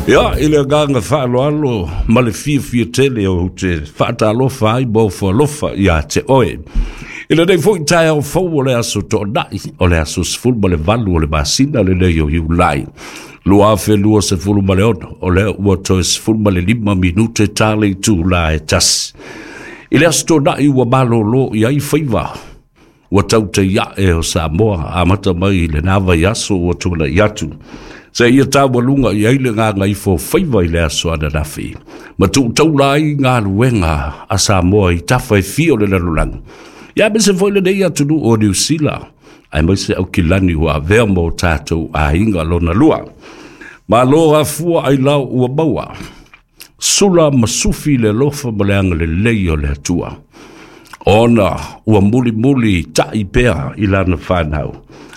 Ia, i le agaga faaaloalo ma le fiafia tele ou te faatalofa ai ma ofo alofa ia te oe. I lenei foi taeao fou o le aso Toonai, o le aso 18 o le masina lenei o Iulai 2026, o lea ua toe 15 minute ta le itula e 1. I le aso Toonai ua malolo i ai faiva ua tautei ae o Samoa, amata mai i lena vaiaso ua tuanai atu, seia taualuga i ai le gagaifo faiva i le aso ananafi, ma tuutaula ai galuega a Samoa i tafa e fia o le lalolagi, ia aemaise foi lenei atunuu o Niu Sila, aemaise Aukilani ua avea ma o tatou aiga lona lua. Malo afua ailao ua maua, sula ma sufi le alofa ma le agalelei o le Atua, ona ua mulimuli ta'i pea i lana fanau,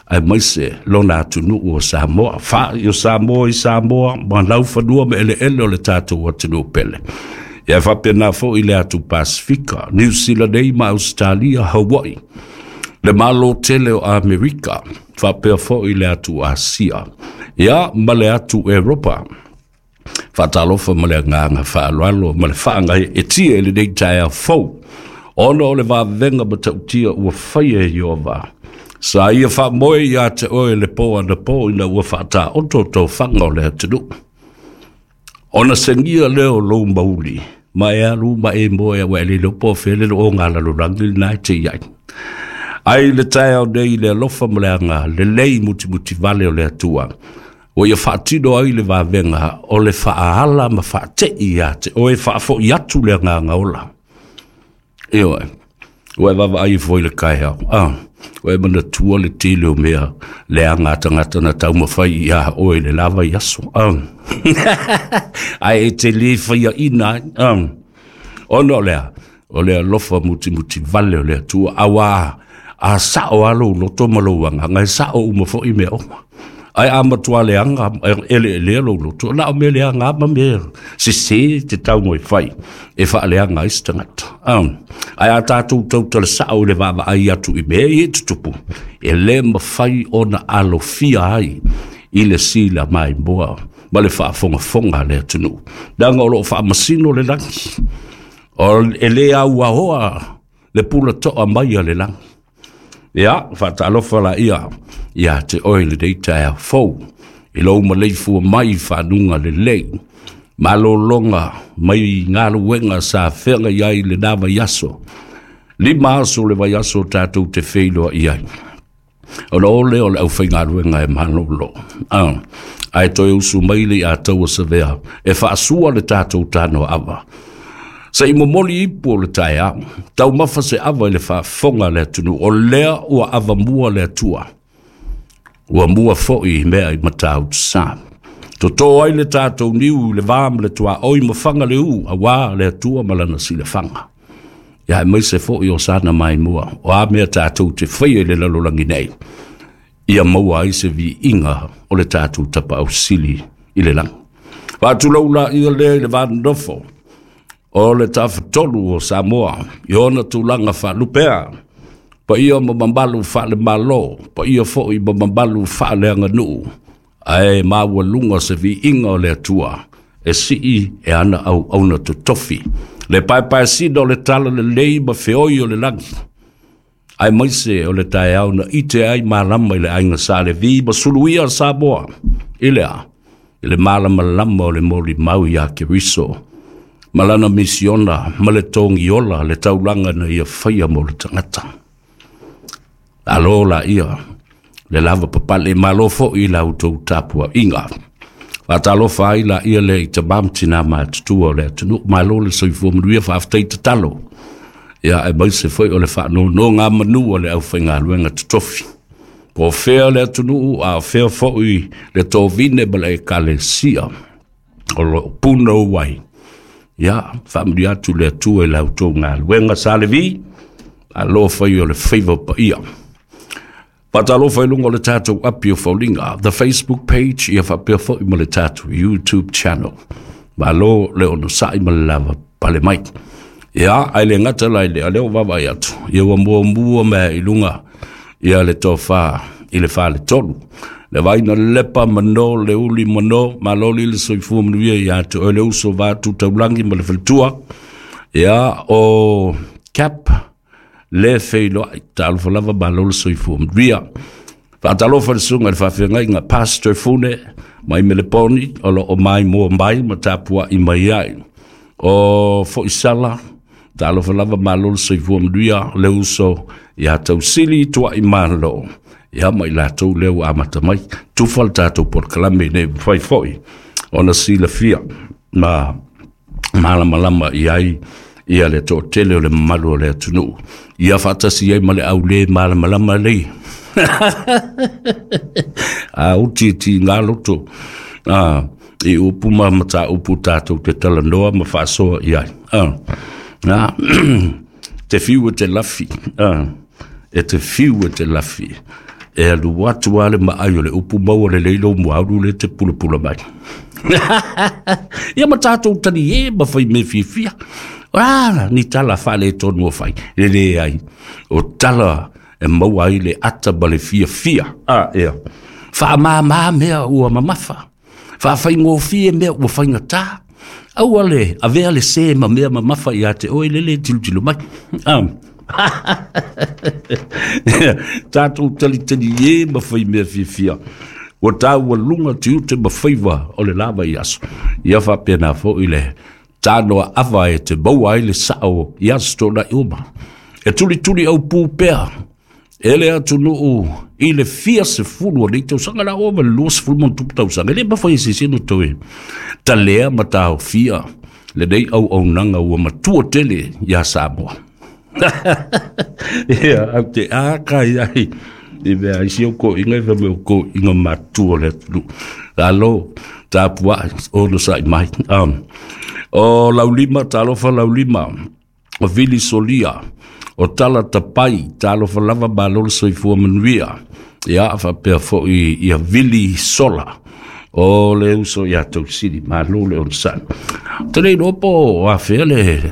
aemaise lona atunuu o Samoa, fa'i o Samoa i Samoa ma laufanua ma eleele o le tatou atunuu pele. Ia faapena foi le atu Pasifika, Niu Sila nei ma Ausetalia, Hawaii, le Malo tele o Amerika, faapea foi le atu Asia, ia ma le atu Eropa. Faatalofa ma le agaga faaaloalo ma le faagaeetia i lenei taeao fou, ona o le vavega matautia ua faia e Ieova. Sa ia faamoe ia te oe le po anapo ina ua faataoto tofaga o le atunuu. Ona segia lea o lou mauli, ma e alu ma e moe aua e le iloa po o fea le looga lalolagi lena e te i ai. Ai le taeao nei i le alofa ma le aga lelei mutimutivale o le Atua, ua ia faatino ai le vavega o le faaala ma faatei ia te oe, faafoi atu le agaga ola. Ioe, ua e vaavaai foi i le taeao, ua e manatua le tele o mea leaga a tagata na taumafai ia oe i le la vaiaso, ae e te le faiaina ai, ona o lea, o le alofa mutimutivale o le Atua, auā a sao lava lou loto ma lou agaga, e sao uma foi mea uma. Ae a matua leaga eleelea lou loto, na o mea leaga lava ma mea sese te tau e fai e faaleaga ai se tagata. Ae a tatou tautala sao i le vaavaai atu i mea ia e tutupu, e le mafai ona alofia ai i le sila maimoa ma le faafogafoga a le atunuu. Leaga o lo o faamasino le lagi, e le auaoa le pulatoa mai a le lagi. Ia, faatalofa la ia ia te oe lenei taeao fou, i lou maleifua mai i fanuga lelei, malologa mai galuega sa feagai ai lena vaiaso, 5 aso le vaiaso tatou te feiloai ai. Ona o lea o le aufaigaluega e malolo, ae toe usu mai le ia taua savea e faasua le tatou tanoaava. Se i momoli ipu o le taeao, taumafa se ava i le faafofoga a le atunuu, o lea ua avamua le Atua, ua mua foi i mea i Matautusa. Toto ai le tatou niu i le va ma le tuaoi ma faga le u, auā le Atua ma lana silafaga. Ia aemaise foi o sana maimoa, o a mea tatou te faia i le lalolagi nei, ia maua ai se viiga o le tatou tapaau sili i le lagi. Faatulou la ia lea i le vanonofo o le tafatolu o Samoa i ona tulaga faalupea, paia ma mamalu faalemalo, paia foi ma mamalu faaleaganuu, ae maualuga se viiga o le Atua e sii e ana auauna totofi, le paepaesina o le tala lelei ma feoi o le lagi, aemaise o le taeao na ite ai malama i le aiga Sa Levi ma suluia Samoa i lea, i le malamalama o le molimau ia Keriso, ma lana misiona ma le togiola le taulaga na ia faia mo le tagata. Alo la ia le lava papale, malo foi i la outou tapuaiga. Faatalofa ai la ia le i tamā ma tinā matutua o le atunuu, malo le soifua manuia, faafetai tatalo. Ia aemaise foi o le faanonogamanu a le aufaigaluega totofi. Po o fea le atunuu, a o fea foi le tovine ma le ekalesia o lo o punou ai. Ia, faamanuia atu le Atua i la outou galuega Sa Levi, alo fai o le faiva paia. Faatalofa i luga o le tatou api o Foliga, the Facebook page, ia faapea foi ma le tatou YouTube channel. Malo le onosai ma le lava pale mai. Ia, ae le gata la i lea, lea ua vaavaai atu, ia ua muamua mea i luga ia le tofa i le faletolu. Le vaina lepa mano le uli mano, maloli le soifua manuia ia te oe le uso vatu taulangi ma le faletua. Ia o Cap le feiloai, talofa lava malo le soifua manuia. Faatalofa le susuga i le faafeagaiga Pastor Fune mai Meleponi o lo o mai mua mai ma tapuai mai ai. O Foisala, talofa lava malo le soifua manuia le uso ia Tausili Tuai Malo. Ia ma i latou lea ua amata mai, tufa le tatou polokalame nei mafai foi ona silafia ma malamalama i ai ia le toatele o le mamalu o le atunuu. Ia faatasi ai ma le aule malamalama lei. A uti ti ngā loto i upu ma mataupu tātou te talanoa ma faasoa i ai. Te fiu e te lafi. E te fiu e te lafi. E alu atu a le maai o le upu maua le leilo muaulu le te pulapula mai. Ia ma tātou tani e ma whai me fiafia. Ni tala whale tonu o whai. Le le ai. O tala e maua ai le ata ma le fiafia. Ia. Whaamā mea ua mamafa. Whaawhaingofie mea ua whaingata. Aua le avea le se ma mea mamafa ia te oe lele tilotilo mai. Tātou talitali e ma whai mea fiafia. Ua tāua lunga te ute ma whaiwa o le lava i aso. Ia whapena fo i le tānoa ava e te maua ai le sao i aso tōna i uma. E tuli tuli au pū pea. E le atunuu i le fia se fulu o nei tausaga la o ma le 20 mo tupu tausaga. E le mawhai se sino tau e talea ma tāo fia le nei au au nanga ua matua tele ia Samoa. Ia, au te ākai ai. I mea ai si au ko inga i whameo ko inga matua le atunuu. Alo, tāpua, ono sa i mai. O Laulima, talofa Laulima, o Vili Solia, o Tala Tapai, talofa lava malo le soifua manuia. Ia, whapea foi ia Vili Sola, o le uso ia Tausili, malo le onsan. Te nei lopo, a whea le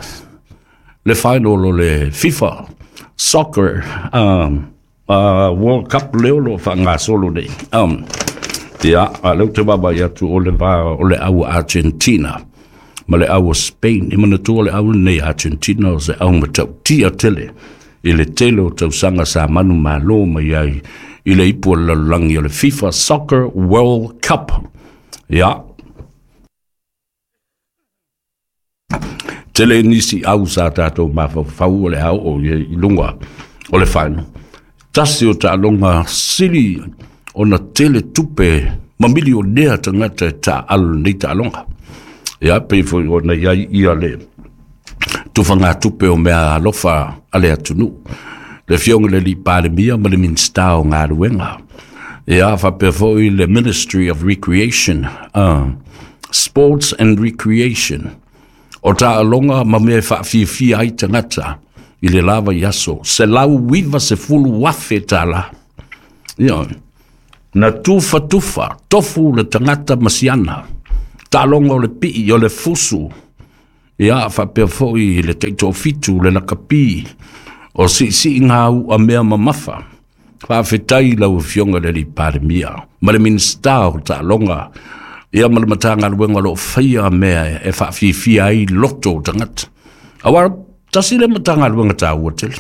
final o le FIFA Soccer World Cup leo lo whangasolo nei. Ia, a leo te wama i atu o le vā o le au Argentina, ma le au Spain. I mana tua le au nei Argentina o se au matau tia tele. I le tele o tausaga sa manu malo mai ai i le ipu o le lalolagi o le FIFA Soccer World Cup. Ia, tele nisi au sa tātou mafaufau o le au o i lunga o le final. Tasi o taaloga sili ona tele tupe ma milionea tagata e taaalo lenei taaloga. Ia pei foi ona i ai ia le tufagatupe o mea alofa a le atunuu. Le afioga le alii Palemia ma le Minista o Galuega. Ia faapea foi le Ministry of Recreation, Sports and Recreation. O taaloga ma mea e faafiafia ai tagata i le lava i aso. 190,000 tala. Ia, na tufa tufa, tofu le tagata ma siana. Taaloga o le pii o le fusu. Ia, faapea foi le taitoafitu, le lakapi, o siisii ngā ua mea mamafa. Faafetai lau afioga le alii Palemia, ma le Minista o Taaloga, ia ma le Matagaluega o lo o faia mea e faafiafia ai loto o tagata. Aua tasi le Matagaluega taua tele.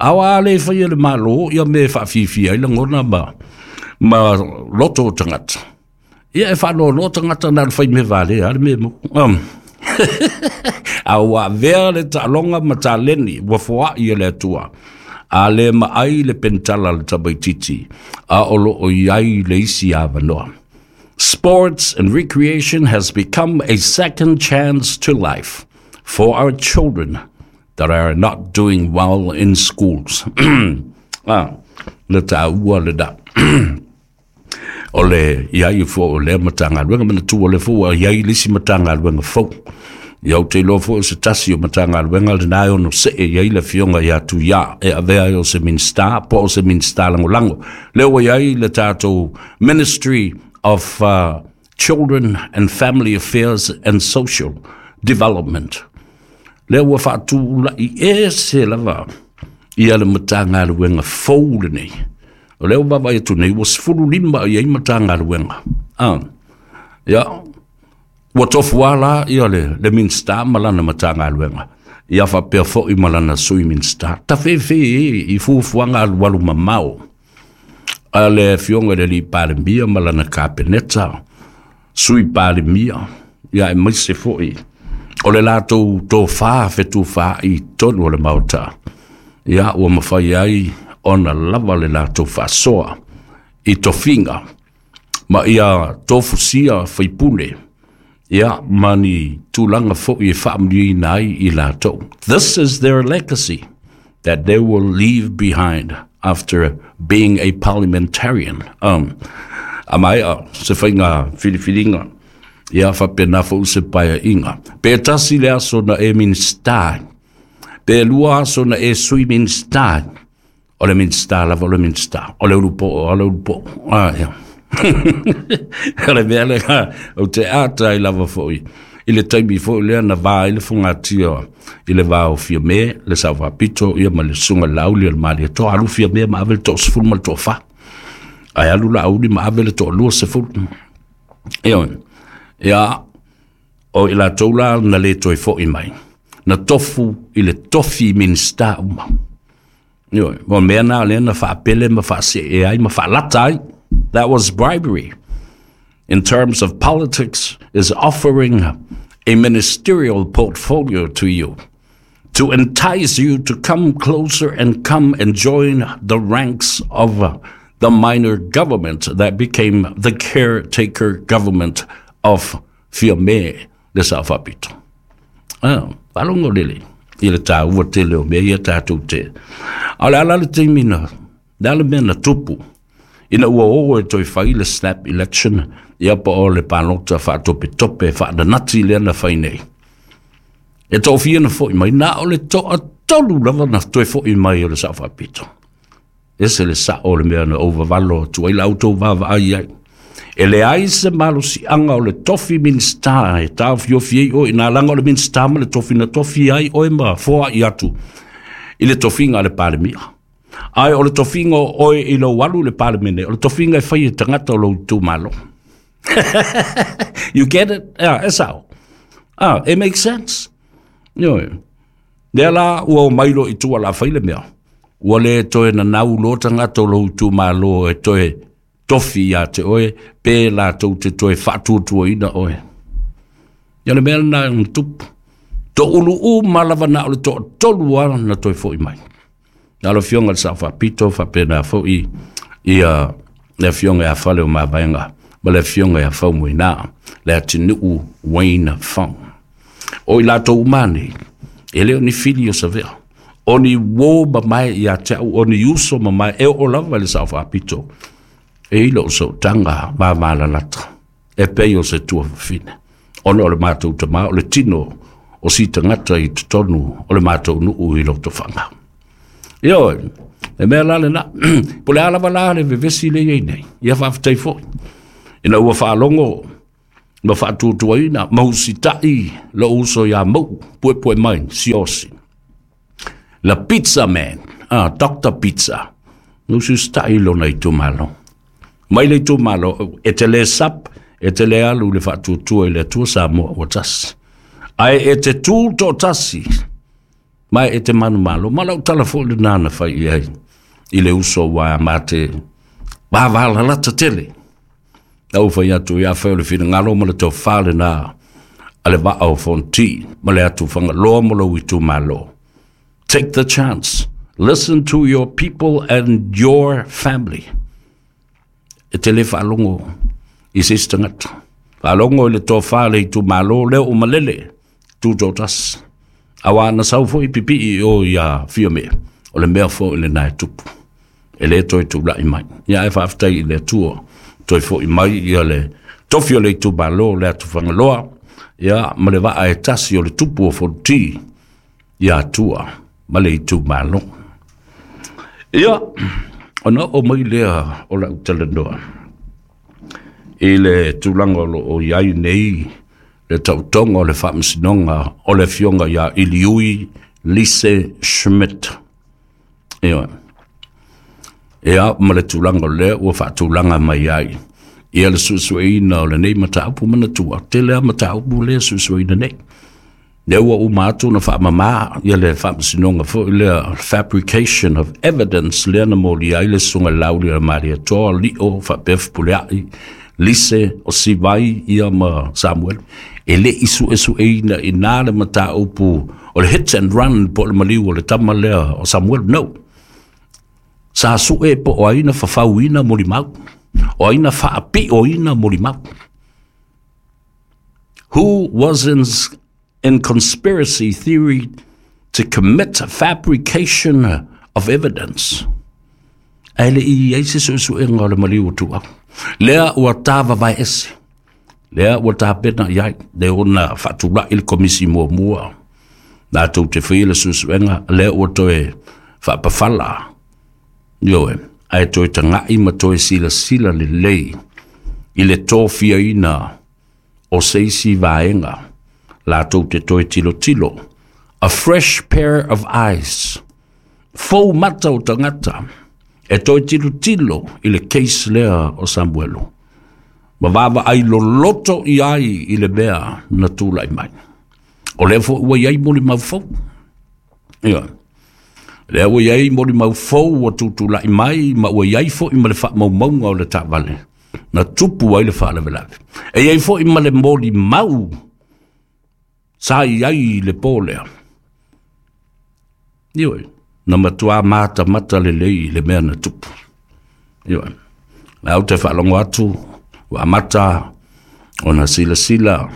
Aua le faia le malo, ia mea e faafiafia ai lagona ma loto o tagata. Ia e whaanoanoa tagata na le whai me vale, a le me mo. A ua avea le taaloga ma taleni, ua foai e le Atua. A le maai le pentala le tamaititi, a o lo o i ai le isi avanoa. Sports and recreation has become a second chance to life for our children that are not doing well in schools. Le tāua le da. O le iai fo o le matagaluega manatua le fo a iai le isi matagaluega fou. Ia ou te iloa foi o se tasi o matagaluega lenā e ono see i ai le afioga ia Tuiā e avea ai o se Minista po o se Minista lagolago. Lea ua i ai le tatou Ministry of Children and Family Affairs and Social Development. Lea ua faatulai ese lava ia le matagaluega fou lenei. O lea ua vaavaai atu nei ua 15 i ai Matagaluega. Ia, ua tofu lava la ia le Minisita ma lana Matagaluega, ia faapea foi ma lana Sui Minisita. Tafefe i fuafuaga alualu mamao a le Afioga i le Alii Palemia ma lana Kapeneta, Sui Palemia, ia aemaise foi o le latou tofa fetufaai i totonu o le Maota, ia ua mafai ai ona lava le latou faasoa i tofiga ma ia tofusia faipule, ia ma ni tulaga foi e faamanuiaina ai i latou. This is their legacy that they will leave behind after being a parliamentarian. A maea se faiga filifiliga, ia faapena foi se paeaiga. Pe tasi le aso na e Minisita, pe lua aso na e Sui Minisita, o le Minisita lava o le Minisita, o le ulupo'o o le ulupo'o. Ia. O le mea lea ou te ata ai lava foi i le taimi foi lea na va ai le fogatia i le va o Fiame, le Sao Faapito, ia ma le susuga i le Laauli o le Malietoa. Alu Fiame ma ave le toasefulu ma le toafa, ae alu Laauli ma ave le toaluasefulu. Ia, o i latou la na le toe foi mai, na tofu i le tofi Minisita uma. Ioe, o mea na lea na faapele ma faasee ai ma faalata ai. That was bribery. In terms of politics, is offering a ministerial portfolio to you to entice you to come closer and come and join the ranks of the minor government that became the caretaker government of Fiame le Sao Faapito. Faalogo lele i le taua tele o mea ia tatou te. A o le ala le taimi na, le ala mea na tupu, ina ua o e toe fai le snap election, ia po o le palota faatopetope faananati lea na fai nei. E toafia na foi mai, na o le toatolu lava na toe foi mai o le Sao Faapito. Ese le sao o le mea na ou vavalo atu ai la outou vaavaai ai. E leai se malosiaga o le tofi Minisita e taofiofi ai oe, na laga o le Minisita ma le tofi na tofi ai oe ma foai atu i le tofiga a le Palemia. Ae o le tofiga o oe i lou alu i le Palemene, o le tofiga e fai e tagata o lou itumalo. You get it? Yeah, e sao. It makes sense. Ioe. Lea la ua omai loa i tua la fai le mea. Ua le toe nanau loa tagata o lou itumalo e toe tofi ia te oe, pe latou te toe faatuatuaina oe. Ia le mea lena na tupu. Toulu uma lava na o le toatolu lava na toe foi mai. Na o le Afioga i le Sao Faapito, faapena foi ia le Afioga ia Fale o Mavaega ma le Afioga ia Faumuina, le atunuu Wayne Fong. O i latou uma nei, e le o ni fili o Savea, o ni uo mamae ia te au, o ni uso mamae, e oo lava i le Sao Faapito, e i lou sootaga vavalalata, e pei o se tuafafine, ona o le matou tama, o le tino o si tagata i totonu o le matou nuu i Lotofaga. Ioe, e mea la lena, po o le a lava la le vevesi lea e i ai nei, ia faafetai foi, ina ua faalogo ma faatuatuaina ma usitai lou uso ia Mau'u, puepue mai Siaosi, la Pizza Man, Dr. Pizza, na usiusitai i lona itumalo. Mai le itumalo, e te le sap, e te le alu i le faatuatua i le Atua Samoa ua tasi. Ae e te tū toatasi, ma e te manumalo. Ma lau tala foi lena na fai i ai i le uso ua mate vavalalata tele. Lau fai atu ia fai o le finagalo ma le tofa lena a le vaa o Fonti ma le atu Fagaloa ma lou itumalo. Take the chance. Listen to your people and your family. E te le faalogo i se isi tagata. Faalogo i le tofa a le itumalo lea ua malele, tu toatasi. Aua na sau foi pipii i o ia Fiame, o le mea foi lena e tupu. E le toe tulai mai. Ia ae faafetai i le Atua, toe foi mai ia le tofi o le itumalo le atu Fagaloa, ia ma le vaa e tasi o le tupu o Fonti ia Atua ma le itumalo. Ia, ona oo mai lea o lau talanoa i le tulaga o lo o i ai nei le tautoga o le faamasinoga o le Afioga ia Iliui Lise Schmidt. Ioe. Ia ma le tulaga o lea ua faatulaga mai ai ia le suesueina o lenei mataupu. Manatua, tele lava mataupu lea e suesueina nei. Lea ua uma atu ona faamama ia le faamasinoga foi lea, fabrication of evidence, lea na molia ai le Susuga i le Lauli o le Malietoa, Lio faapea Fepuleai, Lise o Sivai ia ma Samuelu. E le i suesueina i ina le mataupu o le hit and run po o le maliu o le tama lea o Samuelu. No. Sa sue po o ai na fafauina molimau, o ai na faapioina molimau. Who was in conspiracy theory to commit fabrication of evidence? Ae le i i ai se suesuega o le maliu o Tuau. Lea ua tāvavae ese, lea ua tapena i ai, le ona faatulai le komisi muamua, latou te faia le suesuega, lea ua toe faapafala. Ioe, ae toe tagai ma toe silasila lelei i le tofiaina o se isi vaega latou te toe tilotilo. A fresh pair of eyes. Fou mata o tagata e toe tilotilo i le case lea o Samuelu. Ma vaavaai loloto i ai i le mea na tulai mai. O lea foi ua i ai molimau fou. Ioe. Lea ua i ai molimau fou ua tutulai mai ma ua i ai foi ma le faamaumauga o le taavale na tupu ai le faalavelave. E i ai foi ma le molimau sa i ai i le po lea. Ioe, na matua matamata lelei i le mea na tupu. Ioe, la ou te faalogo atu ua amata ona silasila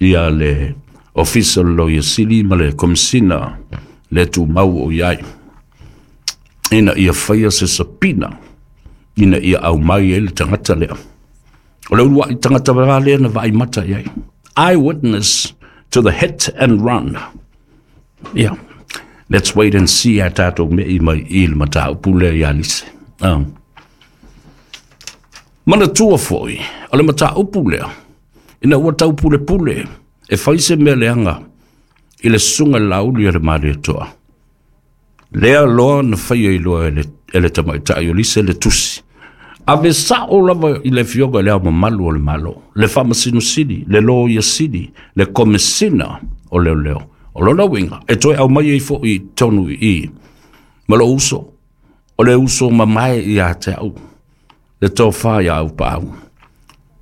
ia le Ofisa o le Loia Sili ma le Komesina le tumau o i ai ina ia faia se sapina ina ia aumai ai le tagata lea. O le uluai tagata va lea na vaai mata i ai. Eyewitness to the hit and run. Yeah. Let's wait and see a tātou me i mai i le mataupu lea ia Lise. Manatua foi, o le mataupu lea, ina ua taupulepule e fai se mea leaga i le Susuga i le Lauli o le Malietoa. Lea loa na faia i loa e le tamaitai o Lise le tusi. Ave sao lava i le afioga i le Ao Mamalu o le Malo, le Faamasino Sili, le Loia Sili, le Komesina o Leoleo. O lona uiga, e toe aumai ai foi i totonu i i ma lou uso, o le uso mamae ia te au, le tofa ia Aupaau,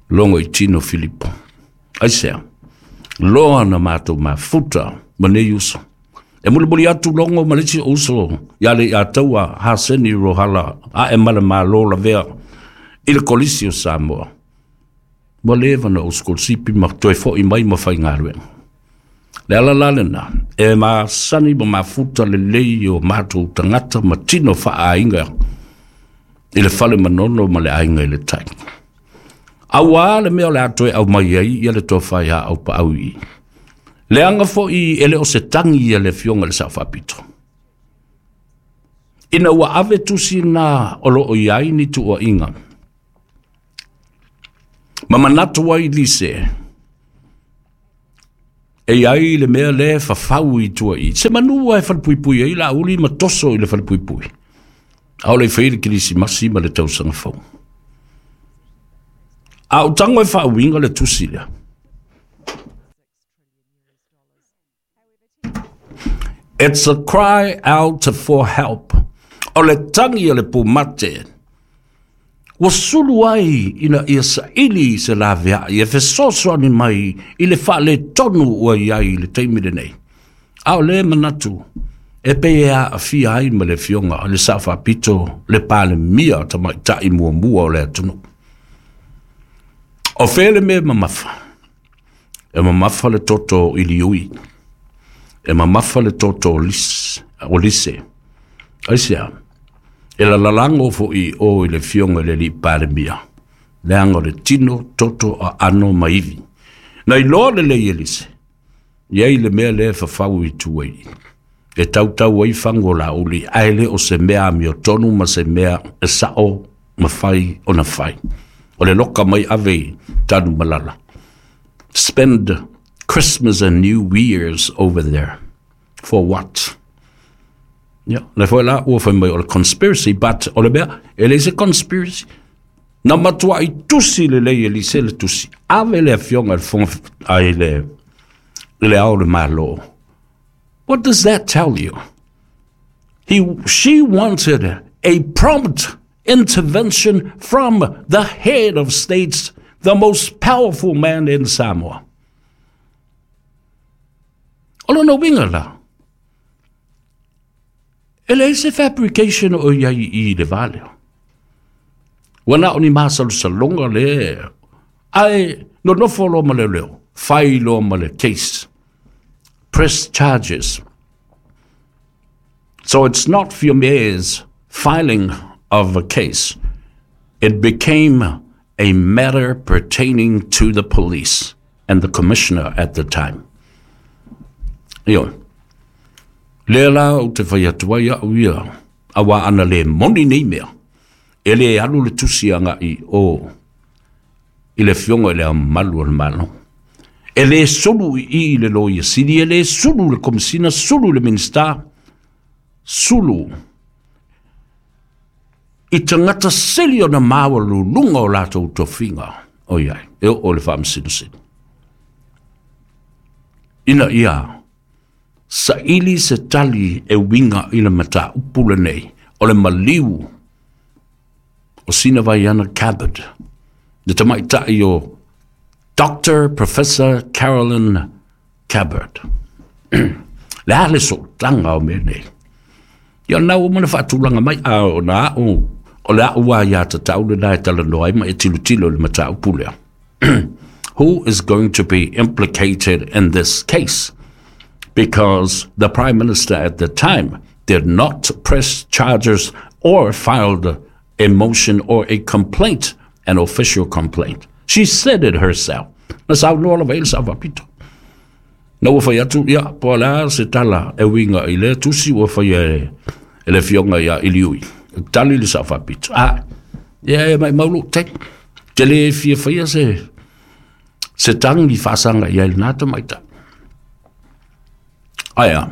Logo i Tino Filipo. Aisea? Loa na matou mafuta ma nei uso. E mulimuli atu Logo ma le isi uso ia le ia taua Haseni Rohala ae ma le Malo lavea i le Kolisi o Samoa. Ua leva na ou sikolasipi ma toe foi mai ma faigaluega. Le ala la lena, e masani ma mafuta lelei o matou tagata ma tino faaaiga i le fale Manono ma le aiga i le tai. Auā le mea o le a toe aumai ai ia le tofa ia Aupaau i i. Leaga foi e le o se tagi ia le afioga i le Sao Faapito. Ina ua ave tusi na o lo o i ai ni tuuaiga, ma manatu ai Lise, e i ai le mea lea e fafau i tua i se manu e falepuipui ai Laauli ma toso i le falepuipui. A o le fai le Kerisimasi ma le tausaga fou. A o tago e faauiga le tusi lea. It's a cry out for help. O le tagi a le pumate ua sulu ai ina ia saili se laveai e fesoasoani mai i le faaletonu ua i ai i le taimi lenei. A o le manatu e pei e aafia ai ma le afioga i le Sao Faapito le Palemia tamaitai muamua o le atunuu. O fea le mea e mamafa? E mamafa le toto i Liui. E mamafa le toto o Lise. Aisea? E lalalago foi o i le afioga i le alii Palemia, leaga o le tino, toto, aano ma ivi. Na iloa lelei e Lise, i ai le mea lea e fafau i tua i e tautau ai fagu o Laauli, ae le o se mea amiotonu ma se mea e sao ma fai ona fai. O le loka mai ave i Tanumalala. Spend Christmas and New Year's over there. For what? Ia, lea foi la ua fai mai o le conspiracy, but o le mea, e leai se conspiracy. Na matuai tusi lelei e Lise le tusi. Ave le afioga i le Fofoga ai le Ao o le Malo. What does that tell you? She wanted a prompt intervention from the head of states, the most powerful man in Samoa. O lona uiga la, e leai se fabrication o i ai i le va lea. Ua na o ni masalosaloga le, ae nonofo loa ma leoleo, fai loa ma le case, press charges. So it's not Fiame's filing of a case. It became a matter pertaining to the police and the commissioner at the time. Ioe. Lea la ou te fai atu ai au ia, auā ana le moni nei mea, e le alu le tusi agai o i le Afioga i le Ao Mamalu o le Malo. E le sulu i i le Loia Sili, e le sulu le Komesina, sulu le Minisita, sulu i tagata sili ona maualuluga o latou tofiga o i ai, e oo i le Faamasino Sili. Ina ia saili se tali e uiga i le mataupu lenei o le maliu o Sina Vaiana Cabot, le tamaitai o Doctor Professor Carolyn Cabot. Le a le sootaga o mea nei? Ia na ua mana faatulaga mai a o na au o le au a ia tatau le na e talanoa ai ma e tilotilo i le mataupu lea. Who is going to be implicated in this case? Because the Prime Minister at the time did not press charges or filed a motion or a complaint, an official complaint. She said it herself. Na saunoa lava i le Sao Faapito. Na ua fai atu, ia, po o le a se tala e uiga i lea tusi ua faia e, e le afioga ia Iliui. E tali le Sao Faapito. A, ia e maumau lou taimi. Te le fia faia se, se tagi faasaga i ai lena tamaitai. Ae a,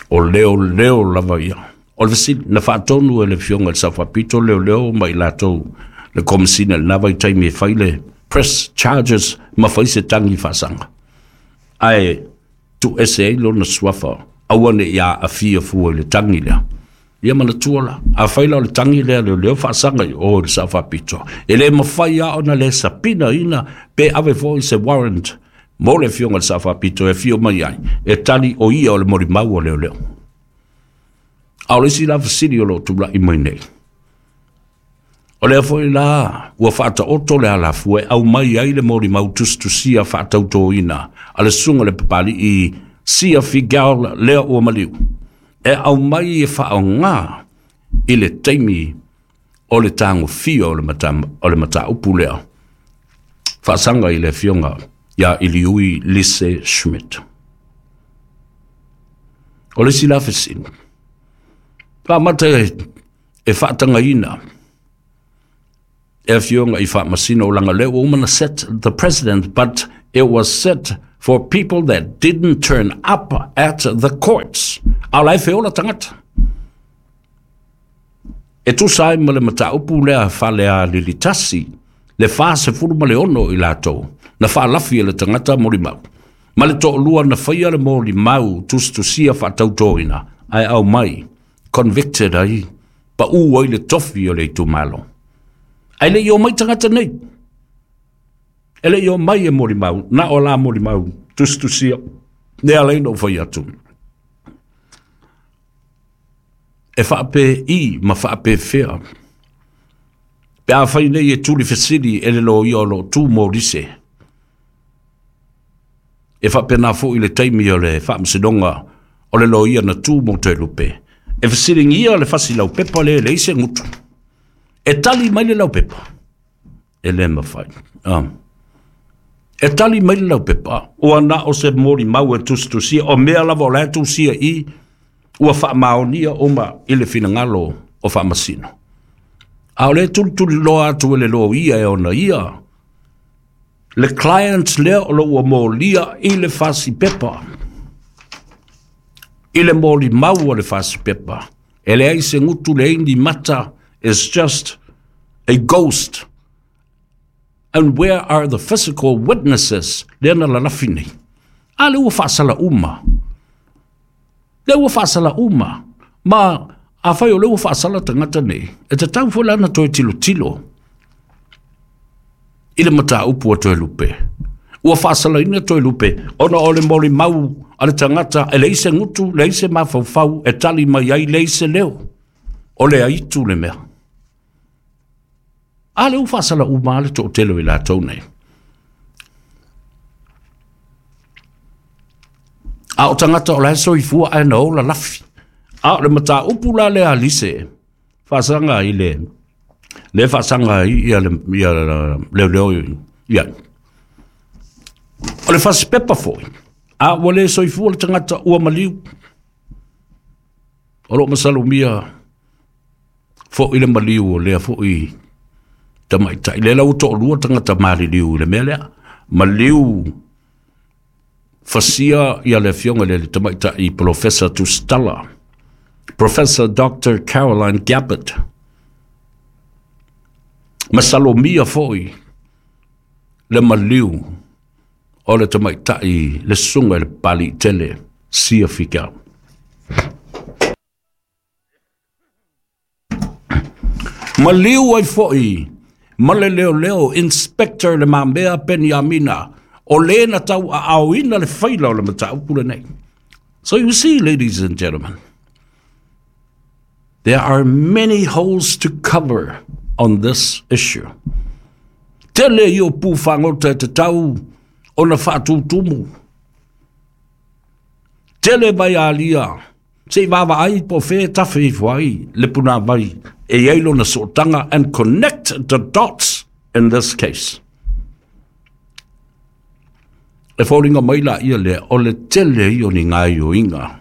o leoleo lava ia. O le fesili, na faatonu e le Afioga i le Sao Faapito leoleo ma i latou le Komesina i lena vaitaimi e fai le press charges ma fai se tagi faasaga. Ae tuuese ai lona suafa, aua ne i aafia fua i le tagi lea. Ia manatua la, afai la o le tagi lea leoleo faasaga i o i le Sao Faapito, e le mafai lava ona le sapinaina pe ave foi se warrant mo le Afioga i le Sao Faapito e afio mai ai, e tali o ia o le molimau a leoleo. A o le isi la fesili o lo o tulai mai nei, o lea foi la ua faataoto le alafua e aumai ai le molimau tusitusia faatautoina a le susuga i le Papali'i Sia Figiel lea ua maliu, e aumai e faaaoga i le taimi o le tagofia o le mataupu lea faasaga i le Afioga ia Iliui Lise Schmidt. O le isi la fesili, faamata e faatagaina e afioga i faamasino o laga lea ua uma na set the president, but it was set for people that didn't turn up at the courts. A o la e feola tagata. E tusa ai ma le mataupu lea Falealilitasi, le 46 i latou na faalafi e le tagata molimau, ma le toalua na faia le molimau tusitusia faatautoina ae aumai convicted ai, pau ai le tofi o le itumalo. Ae le i omai tagata nei, e le i omai e molimau, na o la molimau tusitusia, lea ala ai ona ou fai atu. E faapei ma faapefea pe afai nei e tuli fesili e le loia o lo o tu mo Lise. E faapena foi le taimi o le faamasinoga o le loia na tu mo Toelupe. E fesiligia le fasi laupepa lea e leai se gutu. E tali mai le laupepa. E le mafai. E tali mai le laupepa, ua na o se molimau e tusitusia, o mea lava o la e tusia i, ua faamaonia uma i le finagalo o faamasino. A o lea e tulituliloa atu e le loia e ona ia, le client lea o lo ua molia i le fasi pepa. I le molimau a le fasipepa, e leai se gutu leai ni mata, is just a ghost. And where are the physical witnesses? Lea na lalafi nei. A lea ua faasala uma. Lea ua faasala uma. Ma afai o lea ua faasala tagata nei, e tatau foi la ona toe tilotilo i le mataupu a Toelupe. Ua faasalaina Toelupe ona o le molimau a le tagata e leai se gutu, leai se mafaufau e tali mai ai, leai se leo. O le aitu le mea. A lea ua faasala uma lava le toatele o i latou nei. A o tagata o la e soifua ae na o lalafi. A o le mataupu la lea a Lise, faasaga i le le faasaga ai ia le ia leoleo ia. O le fasipepa foi, a ua le soifua le tagata ua maliu. O lo o masalomia foi le maliu o lea foi tamaitai. Lea la ua toalua tagata maliliu i le mea lea. Maliu fasia ia le afioga i le tamaitai Polofesa Tusitala, Professor Doctor Caroline Gabbard. Masalomia foi le maliu o le tamaitai le susuga i le Papaliitele Sia Figiel. Maliu ai foi ma le leoleo Inspector Le Mamea Peniamina, o le na tauaaoina le faila o le mataupu lenei. So you see, ladies and gentlemen, there are many holes to cover on this issue. Tele ia o pu fagota e tatau ona faatutumu. Tele vaialia se i vaavaai po o fea e tafe ifo ai le punāvai e i ai lona sootaga and connect the dots in this case. E foliga mai la ia lea o le tele ia o ni gaoioiga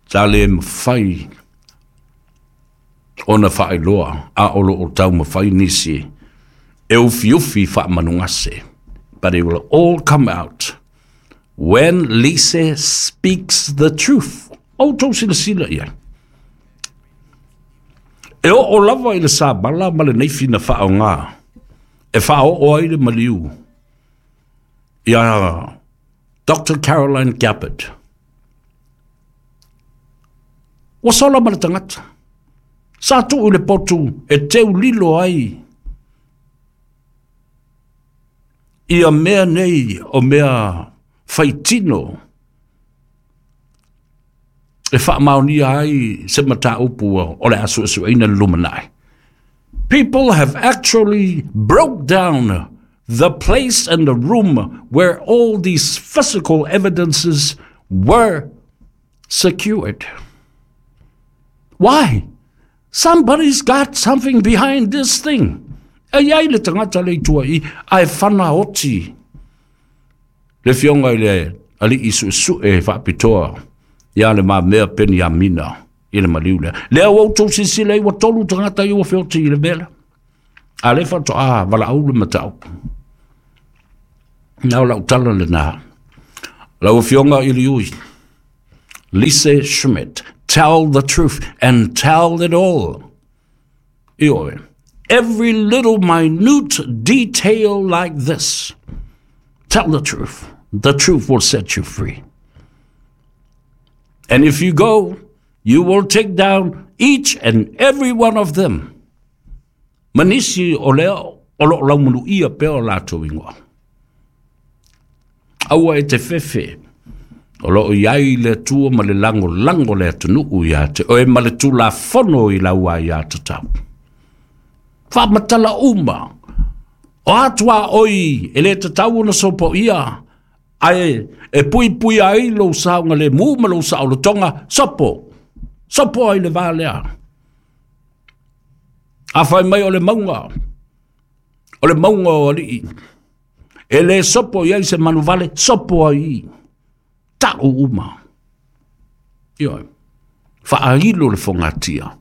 sa le mafai ona faailoa a o lo o taumafai nisi e ufiufi faamanugase. But it will all come out when Lise speaks the truth. Outou silasila i ai. E oo lava i le sabala ma le naifi na faaaoga e faaoo ai le maliu iā Doctor Caroline Gabbard. Ua sola ma le tagata. Sa tuu i le potu e teu lilo ai ia mea nei o mea faitino e faamaonia ai se mataupu o le a suesueina i le lumanai. People have actually broke down the place and the room where all these physical evidences were secured. Why? Somebody's got something behind this thing. E i ai le tagata le i tua i, ae whana oti le fionga i le ali'i su'esu'e faapitoa ia Le Mamea Peniamina i le maliu lea. Lea ua outou silasila ai ua tolu tagata ia ua feoti i le mea lea. A lea faatoa valaau le mataupu. Na o lau tala lena. Lau Afioga i le Ui, Lise Schmidt, tell the truth and tell it all. Ioe, every little minute detail like this. Tell the truth. The truth will set you free. And if you go, you will take down each and every one of them. Ma nisi o lea o lo o laumanuia pea o latou ingoa. Aua e te fefe, o lo o i ai le Atua ma le lagolago le atunuu ia te oe ma le Tulafono i lau aiatatau. Faamatala uma, o a tuaoi e le tatau ona sopoia, ae e puipuia ai lou saogalemu ma lou saolotoga, sopo, sopo ai le va lea. A fai mai o le mauga, o le mauga o alii, e le sopo i ai se manuvale, sopo ai i, tau uma. Ioe, faailo le fogatia.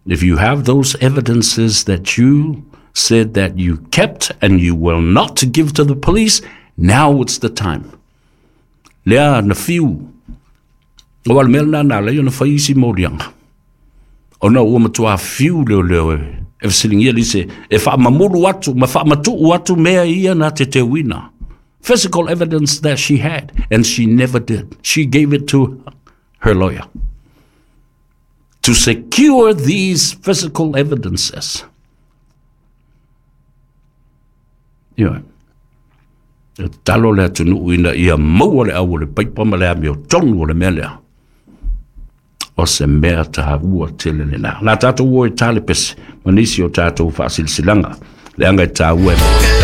If you have those evidences that you said that you kept and you will not give to the police, now it's the time. Lea na fiu. O le mea lena na ala ai ona fai isi moliaga, ona ua matua fiu leoleo e fesiligia lise e faamamulu atu ma faamatuu atu mea ia na teteuina. Physical evidence that she had, and she never did. She gave it to her lawyer to secure these physical evidences. Ioe. E tatalo le atunuu ina ia maua le au o le paipa ma le amiotonu o le mea lea. O se mea taua tele lena. Na tatou o e tale pese ma nisi o tatou faasilasilaga, leaga e taua e